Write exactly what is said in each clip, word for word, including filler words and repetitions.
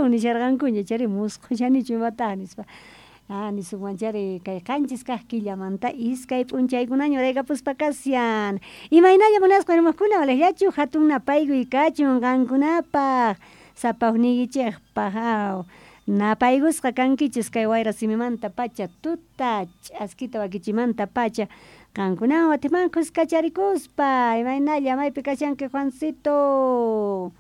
Nisharqankuña chari musqhushanichu imata nispa. Ah, nisunman chari kay qanchis kaq killamanta iskay p'unchaykunaña uraykapuspa kashan. Imaynalla munasqa warmakuna walejllachu hatun napaykuy kachun qankunapaq sapaqniykichikpaq aw. Napaykusqa kankichis kay wayra simimanta pacha tuta ch'askita wakichimanta pacha qankunawan watiman khuskacharikuspa imaynalla maypi kashanki Juancito.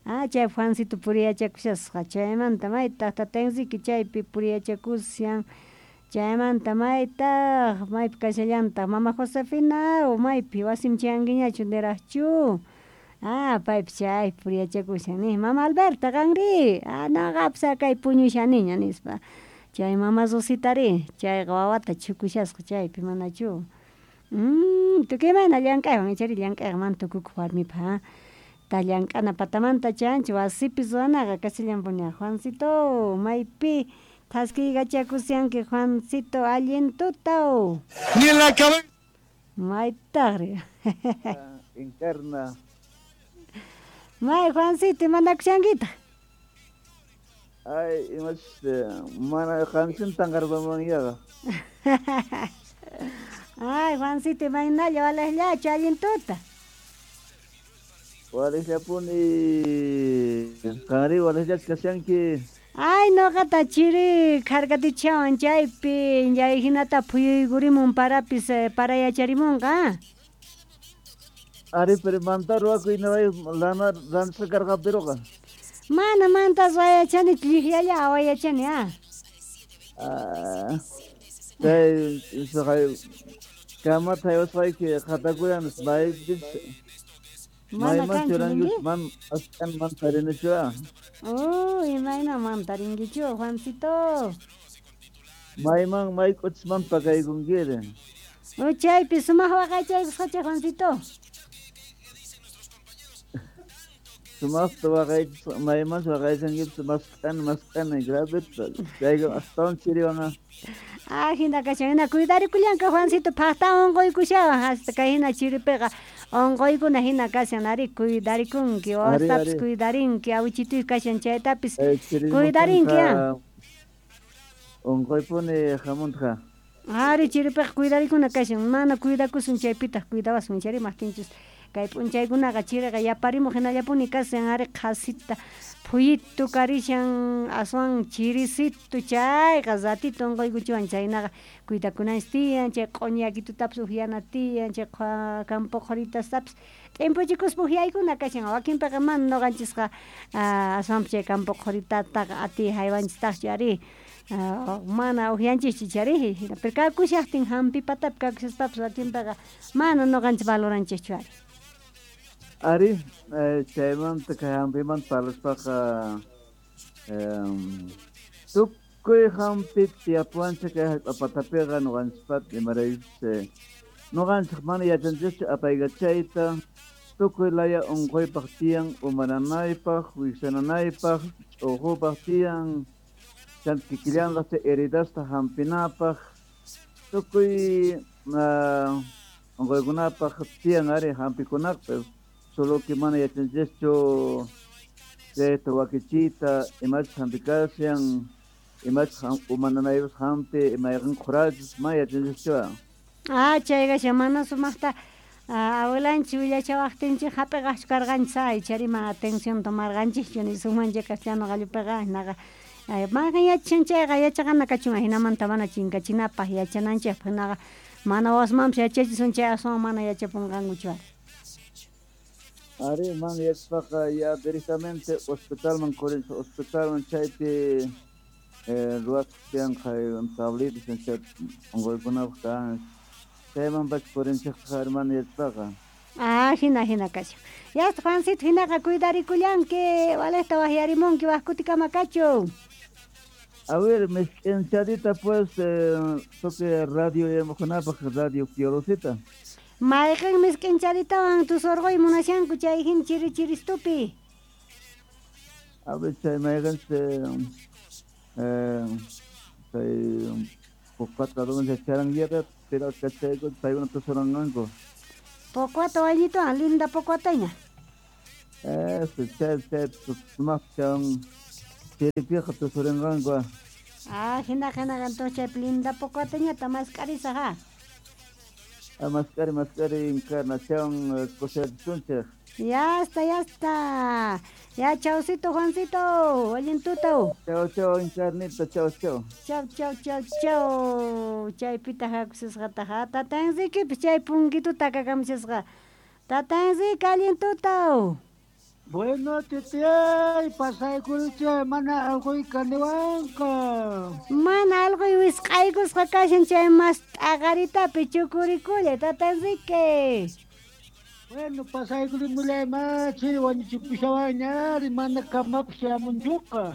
Ah, chay Juancito puriyachakushasqa chaymanta maytaq tata Enrique chaypi puriyachakushan chaymanta maytaq maypi kashallantaq mama Josefina maypi wasim chayankiñachu niraqchu. Ah, paypi chay puriyachakushan ni mama Alberta qanri ah noqapis kay puñushaniña nispa chay mama Rositari chayqa wawata chukushasqa chaypi manachu. Mm, tukuy imayna llank'aywan ichari llank'ayqa mana tukukuq warmipaq ta llank'ana patamanta chanchi wasipi ruwanaqa kashallanpuni. Juancito maypi thaskiykachakushanki Juancito allin tuta. Ni la cabeza. Maytaqri. Encarna. May Juancito imanakushankitaq. Ay, imach mana qansin tanqarpamanyaqa. Ay, Juancito imaynalla walejllachu allin tuta. Walejllapuni qanri walejllachu kashanki. Ay, noqata chiri kharkatichawan chaypi chay hinata phuyuykurimun parapis parayacharimunqa. Ari, pero manta ruwakuy naway lana rantisqa karqapiruqa. Mana mantas wayachani llikllalla awayachani ah. Ah, chay saqay kamata haywasqayki qhatakuyan maypis Mana mayman kanchu churankichu ninki? man askan man tarinichu ah. Oh, imayna man tarinkichu Juancito. Mayman mayk'uchisman pakaykunkiri. Oh, chaypi sumaq waqaychaykusqacha Juancito. Sumaqta waqaychis maymanchu waqaychankipis mask'ani mask'ani graveta chayqa astawan chiriwan ah. Ah, hina kashan hina cuidarikullanka Juancito phaqta unquykushawan hasta kay hina chiripiqa unquykuna hina kashan ari cuidarikunki Ari wawastapis ari. cuidarinki awichituy kashan chaytapis Eh, cuidarinki ah. chirimuqtinqa unquypuni hamuntqa. Ari chiripiqa cuidarikuna kashan mana cuidakusun chaypitaq cuidawasun chari maqtinchis kay p'unchaykunaqa chiriqa yaparimuq hinallapuni kashan ari qhasita phuyito karishan aswan chirisito chayqa ratito unquykuchiwan chaynaqa cuidakunanchis tiyan chay q'uñi yakitutapis upyana tiyan chay campo qhuritastapis t'impuchikuspa upyaykuna kashan wakinpiqa mana nuqanchisqa aswanpas chay campo qhuritataqa atiy haywanchistaqchu ari mana upyanchischu chari pero kakushaqtin hampi patapi kakushaspapas wakinpiqa mana nuqanchis valoranchischu ari. Ari, eh, chaymanta kay hampimanta parlaspaqa tukuy hampi tiyapuwanchik kay hallp'a patapiqa nuqanchispata imaraykuchus nuqanchik mana yachanchischu apaykachayta tukuy laya unquypaq tiyan umananaypaq wiksananaypaq ch'uqupaq tiyan chanta kikillantaq chay heridasta hampinapaq tukuy unquykunapaq tiyan ari hampikunaqpis. Solo que mana yachanchischu chayta wakichiyta imachus hampikashan imachus umananaypaq hampi imayqin qhurachus mana yachanchischu. Ah, chayqa mana sumaqta abuelanchik willachawaqtinchik hap'iqaqchu karqanchis ay chari mana atención tomarqanchikchu nisunmanchik castellano qallupiqa hinaqa mayqin yachashan chayqa yachaqana kachun hinamanta mana chinkachinapaq yachananchikpaq hinaqa mana wawasmanpis yachachisun chay aswan mana yachapunqankuchu ari. Ari, mana yachaspaqa ya directamente hospitalman kurinchik hospitalman chaypi ruwasqa tiyan kay tablitas chay unquykunapaq kan chayman pacha kurinchikqa ari mana yachaspaqa. Ah, hina hina kashan. Yasta Juancito hinaqa cuidarikullanki walejta waqyarimunki waq kutikama kachun. A ver, misk'inchadita pues toque radio yamuqkunapaq radio Piolosita. Mayqin misk'inchaditawan tusurquy munashanku chay hina chiri chiristupi. A ver, chay mayqinchis chay Pocuata donde charanguiata pero kachayku paykuna tusuranqanku. Pocuata wayllituwan linda pocuataña. Eso, chay chay sumaqchan Chiripiqa tusurinqanku. Ah, hina hina entonces chay linda pocoteñata mask'arisaq ha. Ah, mask'ari mask'ari Encarnación kusachisunchik. Ya está, ya está. Ya, chaucito, Juancito. Allin tuta. Chau, chau, Encarnita, chau, chau. Chau, chau, chau, chau. Chaypita hakusisqata ha. Tata Enriquepis chay punkituta takakamusisqa. Tata Enrique, allin tuta. Bueno, titiyay, pasaykuruchay, mana alqoy kaniwanqa. Mana alqoy wisq'aykusqa kashan chay mas t'aqaritapi chukurikullay, Tata Enrique. Bueno, pasaykurimulay ma, chiri wañuchipushawanñari, mana kamapas shamunchuqa.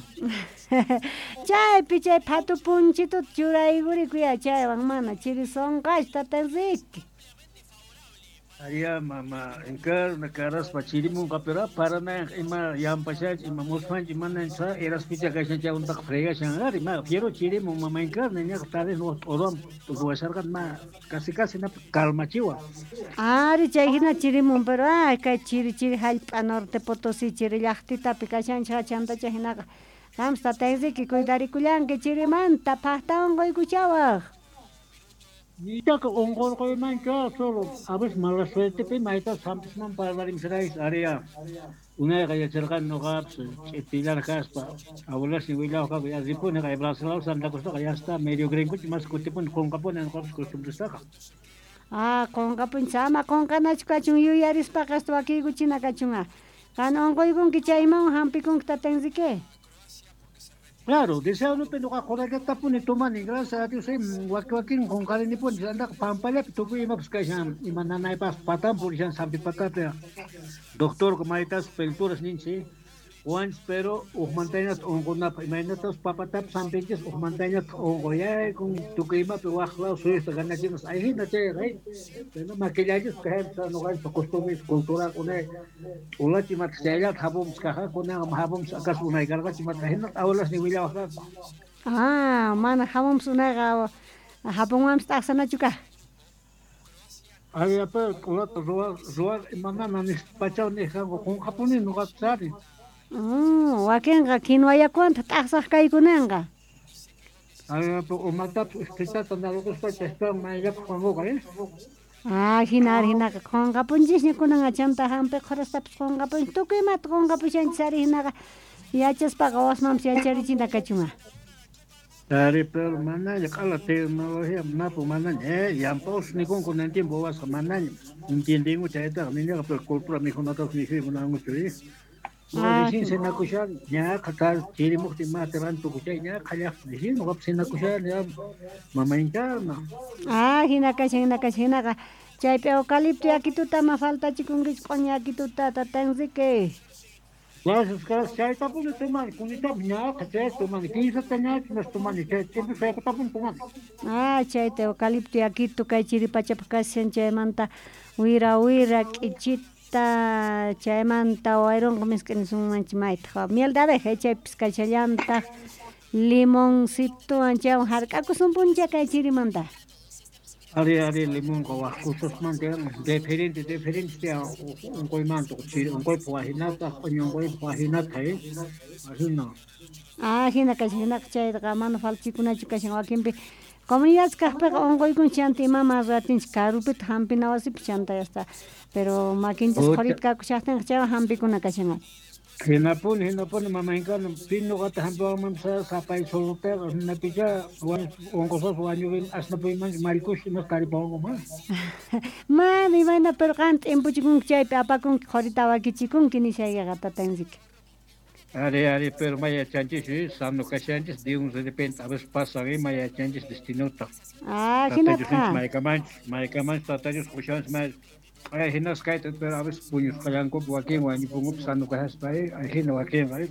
Chaypi chay phatu punchituta churaykurikuya chaywan mana chiri sunqachu, Tata Enrique. Aria mama Encarna karaspa chirimunqa pero parana ima yampashanchik ima muspanchik mana sa eraspicha kashan chaywantaqa fregashan ari ma fiero chirimun mama Encarna ñaqa tal vez t'uruwan ruwasharqa ma casi casi na calmachiwan. Ari chay hina chirimun pero ay kay chiri chiri hallp'a Norte Potosí chiri llaqtitapi kashanchik chanta chay hinaqa qampas Tata Enrique cuidarikullanki chirimanta phaqta unquykuchawaq. Nichaqa unqurquymanchu solo a veces mala suertepi mayta sampisman parlarimsirayis aria unayqa yacharqani nuqapas ch'itillar kaspa abuelasniy willawaqqa ya ripuni kay Brasil Santa Cruztaqa ya está medio gringochu mas kutipuni qunqapuni nuqapas costumbrestaqa. Ah, qunqapunchik ama qunqanachu kachun yuyarispaqa hasta wakiykuchina kachun. Qan unquykunki chayman hampikunki Tata Enrique. Claro, deseadopi nuqa qurallatapuni tomani, gracias a Dios, waki wakin qunqarinipuni, andaqa pampallapi tukuy imapas kashan, ima nanaypas patan purishan sampi patapi. Doctor maytas pelturas ninchik, wanchis pero uqmantañataq unqunapaq imaynatas papatapas sampinchis uqmantañataq unquyaykun tukuy imapi waq law suyusta ganachinas ayhina chayqa pero makillanchis kaypas nuqanchis costumbres cultural unay t'ulachi imata chayllata hapumus kaja kunanqa hapumus acaso unay karqachu imata hinata abuelasniy willawaq kanku. Ah, mana hapumus unayqa hapunwanpis t'aqsanachu kaj. Aria pero t'ulata ruwaq ruwaq imanana nispachaw niqkanku qunqapuni nuqapis ari. Mm, wakinqa quinua yakuwantaq t'aqsaq kaykunanqa. Aria pero umatapis uspitata narukuspa chaytawan mayllapaq wankuqa eh. Ah, hina ari hinaqa qunqapunchisña kunanqa chanta hampi qhurastapis qunqapunchis tukuy imata qunqapushanchis ari hinaqa yachaspaqa wasmanpis yacharichina kachun. Ari pero manaña q'ala tecnología napu manaña eh yampaus nikunku kunan tiempo wasqa manaña entiendenku chaytaqa niñaqa pero cultura mikhunatapas mikhuy munankuchu eh. Ah, Recién cenakushan ñaqa tal chirimuqtin mati rantukuchay ñaqa llaqta recién nuqapas cenakushani ya mama Encarna. Ah, hina kashan hina kashan hinaqa chaypi eucalipto yakituta ama faltachikunkichu q'uñi yakituta Tata Enrique. Gracias, gracias. Chaytapuni tomani, kunitapas ñaqa chayta tomani, kinsata ñachu nas tomani, chay tiempo chaytapuni tomani. Ah, chayta eucalipto yakitu kay chiri pachapaq kashan chaymanta wira wira k'ichita chaymanta wayrunqa misk'i nisunmanchik maytaq miel de abeja chaypis kashallantaq limoncitowan chaywan hark'akusunpuncha kay chirimanta. Ari ari limonqa waq cosasmanta diferente diferente tiyan unquymanta chiri unquypaq wajinataq q'uñi unquypaq wajinataq eh ajina. Ah, hina kashan hinaqa chaytaqa mana faltachikunachu kashan wakinpi comunidades kaqpiqa unquykunchik chanta imama ruwatinchik karupitaq hampina wasipi chanta ya está pero makinchis qhurita kakushaqtinqa chaywan hampikuna kashan ari. Hinapuni hinapuni mama Encarna pi nuqata hampiwanmanpas sapay solotaqa hinapicha unquspas wañurin asnapuymanchu mallkush imas taripawankuman. Mana imayna pero qam t'impuchikunki chaypi apakunki qhurita wakichikunki nishaykiqa Tata Enrique. Ari ari pero may yachanchis sano kashanchis de un de repente a veces pasa ima yachanchis destinota. Ah, Tata Dios hinata. maykamanchis maykamanchis Tata Dios qushanchis may ay hinas kayta pero a veces puñusqallankupi wakin wañupunkupi sano kashaspa ay hina wakinqa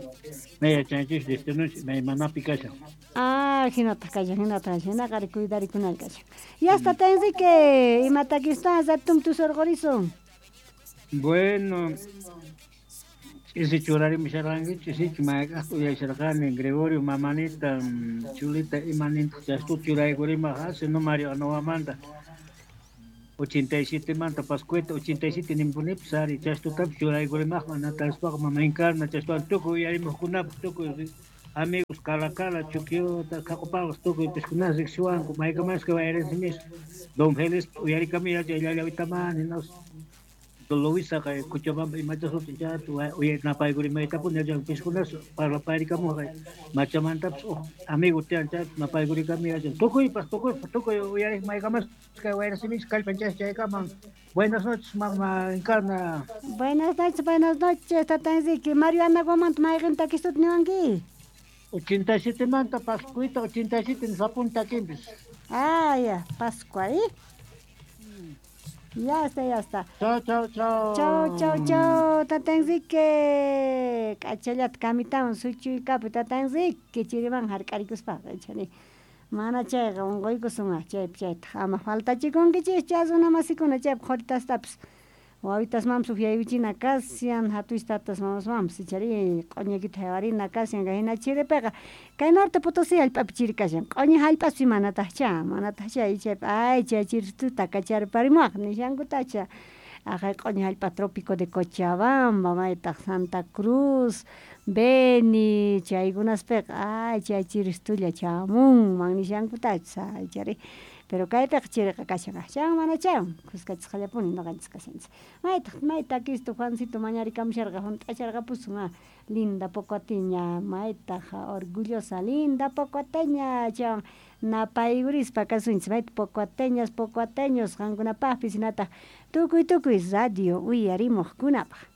may yachanchis destinonchis maymanapi kashan. Ah, hinataq kashan hinataq kashan hinaqa ari cuidarikunan kashan. Ya está Tata Enrique, imatakistan ratum tusurqurisun. Bueno, ch'isi churarimusharqankichu ch'isichu mayk'aqta uyasharqani Gregorio mamanita chulita imanintaq chastuta churaykurimaq sino Mario Anowamanta ochenta y siete manta Pascueta ochenta y siete nimpunipis ari chastutapas churaykurimaqman natarispaqa mama Encarna chastuwan tukuy uyarimuqkunapaq tukuy Amigos Calacala, Chuquiota, Cacopagos, tukuy piskunas riqsiwanku maykamasqa wayrasimis Don Félix uyarikami llallawitamani nos Luisa kay Cochabamba imachasutin chayta napaykurimay-tapuni yachan piskunas parlaparikamuj machamantapas uj amigo tiyan chayta napaykurikami yachan tukuypas tukuypas tukuy uyarik maykamas kay wayrasimis kallpanchas chaykaman. Buenas noches, mamá Encarna. Buenas noches, buenas noches, tata Enrique. Mario Anaguamanta mayqin takisuta niwanki? ochenta y siete manta Pascuita, ochenta y siete nisapun takimpis. Ah, ya, Pascua, ¿eh? Ya está, ya está. Chao, chao, chao. Chao, chao, chao, tata Enrique. K'achallata kamitawan suchuykapuy tata Enrique chiriman hark'arikuspaqa chani. Mana chayqa unquykusun chaypi chayta ama faltachikunkichikcha runa masikuna chaypi qhuritastapis wawitasmanpis ukyaykuchina kashan hatuy tatas mamasmanpis ichari q'uñikita haywarina kashan hina chiripiqa kay Norte Potosí hallp'api chiri kashan q'uñi hallp'aspi manataqcha manataqcha chaypi ay chay chirituta kacharparimuwaq nishankutacha aqhay q'uñi hallp'a trópico de Cochabamba maytaq Santa Cruz Beni chaykunaspiqa ay chay chiristulla chamunman nishankutacha ichari pero kaypiqa chiriqa kashan chan mana chan kuskachisqallapuni ñuqanchis kashanchis maytaq may takisto Juancito mañarikamusharqa hunt'acharqapusun ah linda pocoteña maytaq orgullosa linda pocoteña chan napaykurispa kasunchis mayta pocoteñas pocoteños qankunapaqpis hinataq tukuy tukuy radio uyarimuqkunapaq.